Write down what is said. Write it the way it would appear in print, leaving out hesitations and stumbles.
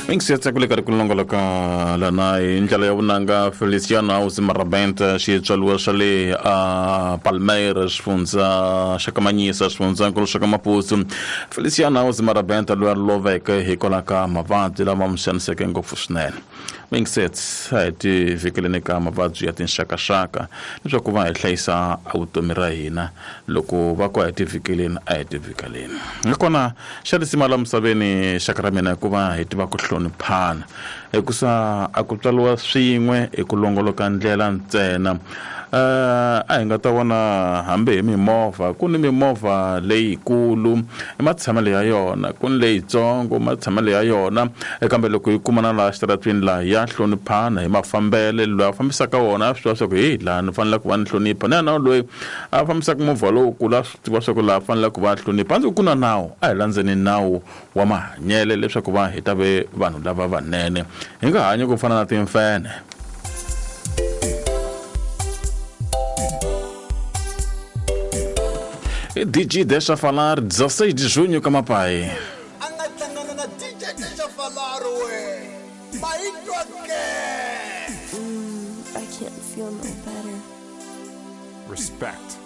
Mingisiyatsa ku le karhi ku longoloka lana hi ndlela ya vunanga Feliciano House Marabenta xitswaliwa xa le a Palmeira xifundza xa Kamanyisa xifundzankulu xa ka Maputo. Feliciano House Marabenta loyi a loveke hikwalaho ka mavabyi lama n'wi xaniseke ngopfu swinene. Mingisets a hi ti vhikeleni ka mavabyi ya tinxakaxaka leswaku va hi hlayisa vutomi ra hina. Loko va ku a hi ti vhikeleni a hi ti vhikeleni. Nakona xa risima la misaveni xaka ra mina hikuva hi tiva ku hloniphana hikusa a ku tswariwa swin'we hi ku longoloka ndlela ntsena. A hi nga ta vona hambi hi mimovha ku ni mimovha leyikulu i matshamelo ya yona ku ni leyitsongo matshamelo ya yona kambe loko yi kumana laha xitaratwini laha ya hloniphana hi mafambele loyi a fambisaka wona a swi tiva swa ku heyi laha ni fanele ku va ni hlonipha na yena loyi a fambisaka movha lowukulu a swi tiva swa ku laha fanele ku va a hlonipha a ndzi ku na nawu a hi landzeni nawu wa mahanyele leswaku va hi ta ve vanhu lava vanene hi nga hanyi ku fana na timfenhe. DJ Deixa Falar, 16 de junho, Kamapai. A nga hlangana na DJ Deixa Falar we mayitwa ke. I can't feel no better. Respect.